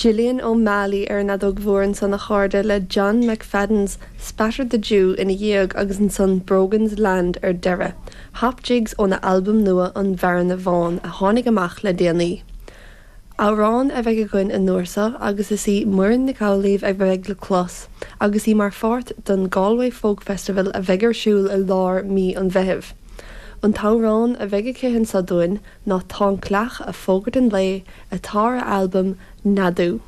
Gillian O'Malley ar an fheadóg mhór ansan a chairde le John McFadden's Spatter the Dew ina dhiaidh agus ansan Brogan's Land ar deireadh, Hop Jigs óna albam nua An Bhearna Bhán a tháinig amach le déanaí. Amhrán a bheidh againn an uair seo agus is í Muireann Nic Amhlaoibh a bheidh le clos agus í mar pháirt den Galway Folk Festival a bheidh ar siúl i lár mí an Mheithimh. An t-amhrán a bheidh aici anseo dúinn ná Tá an Cleach a' Fógairt an Lae atá ar a albam Neadú.